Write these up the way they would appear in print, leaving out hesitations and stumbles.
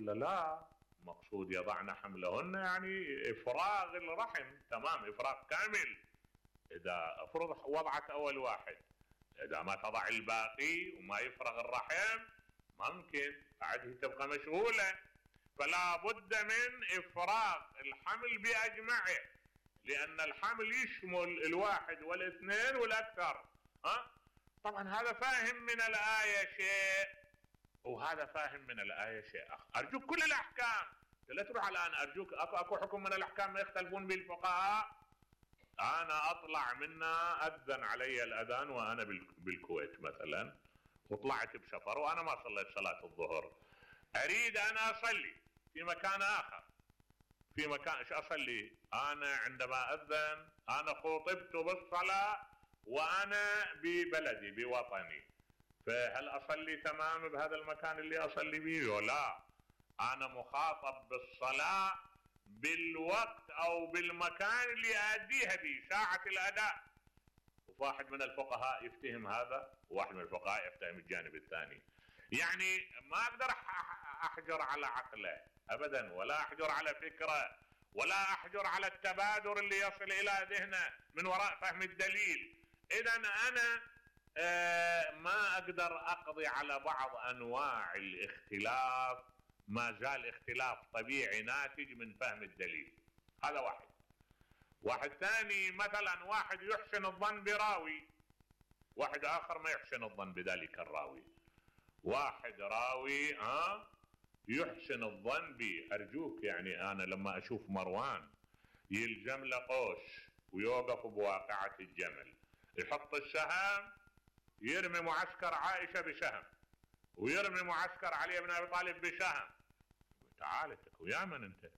ولا لا؟ مقصود يضعن حملهن يعني افراغ الرحم، تمام، افراغ كامل. اذا افرض وضعت اول واحد، اذا ما تضع الباقي وما يفرغ الرحم ممكن بعده تبقى مشغولة. فلا بد من افراغ الحمل باجمعه، لان الحمل يشمل الواحد والاثنين والاكثر. طبعا هذا فاهم من الآية شيء وهذا فاهم من الآية شيء آخر. أرجوك كل الأحكام لا تروح الآن، أرجوك أكو حكم من الأحكام ما يختلفون به الفقهاء. أنا أطلع منا أذن علي الأذان وأنا بالكويت مثلا، وطلعت بسفر وأنا ما صليت صلاة الظهر، أريد أنا أصلي في مكان آخر، في مكان إيش أصلي؟ أنا عندما أذن أنا خطبت بالصلاة وأنا ببلدي بوطني، فهل أصلي تمام بهذا المكان اللي أصلي به ولا أنا مخاطب بالصلاة بالوقت أو بالمكان اللي أديها به ساعة الأداء؟ وواحد من الفقهاء يفتهم هذا وواحد من الفقهاء يفتهم الجانب الثاني. يعني ما أقدر أحجر على عقله أبدا، ولا أحجر على فكرة، ولا أحجر على التبادر اللي يصل إلى ذهنه من وراء فهم الدليل. إذا أنا ما أقدر أقضي على بعض أنواع الاختلاف، ما زال اختلاف طبيعي ناتج من فهم الدليل. هذا واحد ثاني، مثلا واحد يحسن الظن براوي، واحد آخر ما يحسن الظن بذلك الراوي. واحد راوي يحسن الظن بي، أرجوك يعني أنا لما أشوف مروان يلجم له قوس ويوقف بواقعة الجمل، يحط السهم يرمي معسكر عائشة بسهم ويرمي معسكر علي بن أبي طالب بسهم، تعال انت ويا من انت؟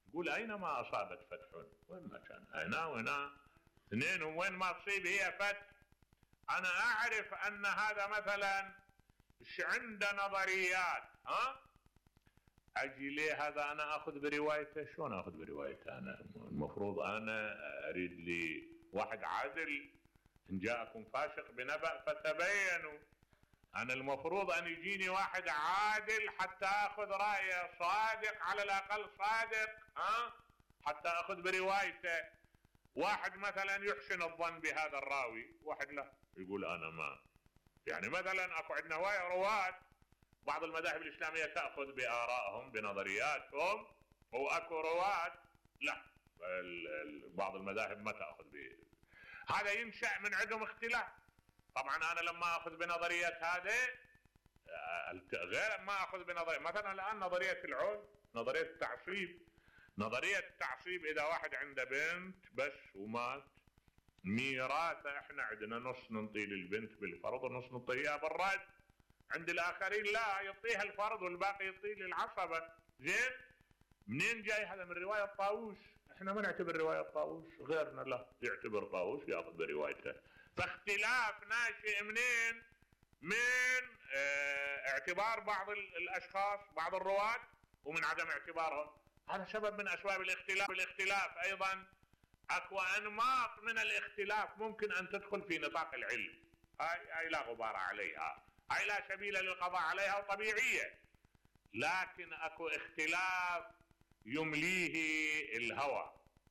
يقول اينما اصابت فتح، وين ما كان هنا وهنا اثنين، وين ما تصيب هي فتح. انا اعرف ان هذا مثلا عند نظريات، اجي ليه هذا انا اخذ بروايته؟ شلون اخذ بروايته؟ انا المفروض انا اريد لي واحد عادل، ان جاءكم فاسق بنبأ فتبينوا. أنا المفروض أن يجيني واحد عادل حتى أخذ رأيه، صادق على الأقل صادق، حتى أخذ بروايته. واحد مثلا يحسن الظن بهذا الراوي، واحد لا يقول أنا ما، يعني مثلا أكو عندنا رواة بعض المذاهب الإسلامية تأخذ بآرائهم بنظرياتهم، وأكو رواة لا بعض المذاهب ما تأخذ به. هذا ينشأ من عدم اختلاف. طبعا انا لما اخذ بنظرية هذه غير ما اخذ بنظرية مثلا الان نظرية العود، نظرية التعصيب. نظرية التعصيب اذا واحد عنده بنت بس ومات، ميراثه احنا عندنا نص ننطي للبنت بالفرض ونص نعطيها بالرد، عند الاخرين لا، يعطيها الفرض والباقي يعطيه للعصبة. زين، منين جاي هذا؟ من رواية طاووس. احنا ما نعتبر رواية طاووس، غيرنا لا يعتبر طاووس ياخذ بروايته. فاختلاف ناشئ منين؟ من اعتبار بعض الاشخاص بعض الرواة ومن عدم اعتبارهم. هذا سبب من اسباب الاختلاف. الاختلاف ايضا اكو انماط من الاختلاف ممكن ان تدخل في نطاق العلم، هاي لا غبار عليها، هاي لا سبيل للقضاء عليها وطبيعية. لكن اكو اختلاف يمليه الهوى،